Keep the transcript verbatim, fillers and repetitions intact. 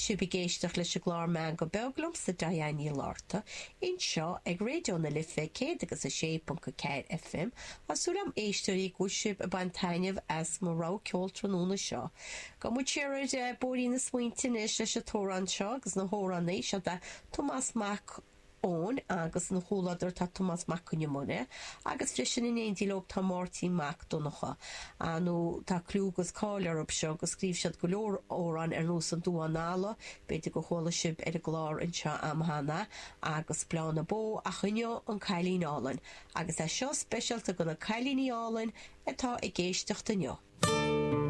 sibh ag éisteacht leis an gclár Meangadh Beag liomsa Diane Ní Fhlatharta, anseo ag Raidió na Life céad agus a sé ponc a ceathair FM. Tá súil agam éisteoirí go bhfuil sibh ag baint taitneamh as mo rogha ceoil tráthnóna seo. Gabhfaidh muid siar ar bóithrín na smaointe anois leis an t-amhrán seo agus na hamhránaí seo de Tomás Mac Eoin agus ina chomhluadar tá Tomás Mac Con Iomaire agus freisin in éindí leo tá Máirtín Mac Donncha. Nó tá clú agus cáil orthu seo agus scríobh siad go leor amhrán ar nós an Duán Alla, b'fhéidir go chuala sibh ar an gclár anseo am cheana agus Bláth na Bó ach inniu an Cailín Álainn agus é seo speisialta do na cailíní álainn atá ag éisteacht inniu.